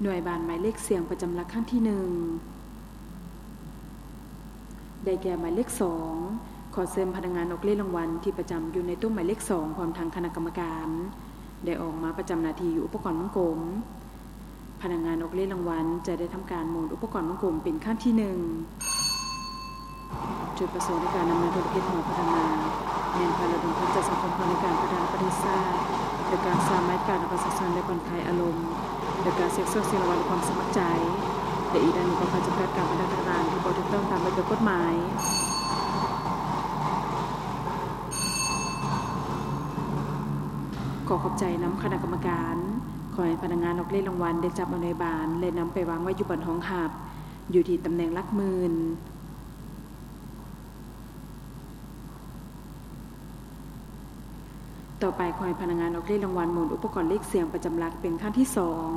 ໜ່ວຍບານໝາຍເລກສ່ຽງປະຈຳຫຼັກຄັ້ງທີໜຶ່ງ ໄດ້ແກ່ໝາຍເລກສອງ. ຂໍເຊີນພະນັກງານອອກເລກລາງວັນທີ່ປະຈຳຢູ່ໃນໂຕະໝາຍເລກສອງ ພ້ອມທັງຄະນະກຳມະການ ໄດ້ອອກມາປະຈຳໜ້າທີ່ຢູ່ອຸປະກອນວົງກົມ. ພະນັກງານອອກເລກລາງວັນຈະໄດ້ທຳການໝູນອຸປະກອນວົງກົມເປັນຄັ້ງທີໜຶ່ງ. ຈຸດປະສົງໃນການນຳເນີນທຸລະກິດຂອງພະນັກງານ ແມ່ນເພື່ອລະດົມທຶນຈາກສັງຄົມເພື່ອໃນການພັດທະນາປະເທດຊາດ ໂດຍການສ້າງບັນຍາກາດໃຫ້ປະຊາຊົນໄດ້ຜ່ອນຄາຍອາລົມ ໂດຍການສຽງໂຊກສຽງລາງວັນດ້ວຍຄວາມສະໝັກໃຈ ແລະ ອີກດ້ານໜຶ່ງກໍເພື່ອຈຳກັດການບັນທະນາງານທີ່ບໍ່ຖືກຕ້ອງຕາມລະບຽບກົດໝາຍ. ຂໍຂອບໃຈນຳຄະນະກຳມະການ. ຂໍໃຫ້ພະນັກງານອອກເລກລາງວັນໄດ້ຈັບເອົາໜ່ວຍບານ ແລະ ນຳໄປວາງໄວ້ຢູ່ບ່ອນຮອງຮັບ ຢູ່ທີ່ຕຳແໜ່ງຫຼັກໝື່ນ. ຕໍ່ໄປ ຂໍໃຫ້ພະນັກງານອອກເລກລາງວັນໝູນອຸປະກອນເລກສ່ຽງປະຈຳຫຼັກເປັນຄັ້ງທີສອງ.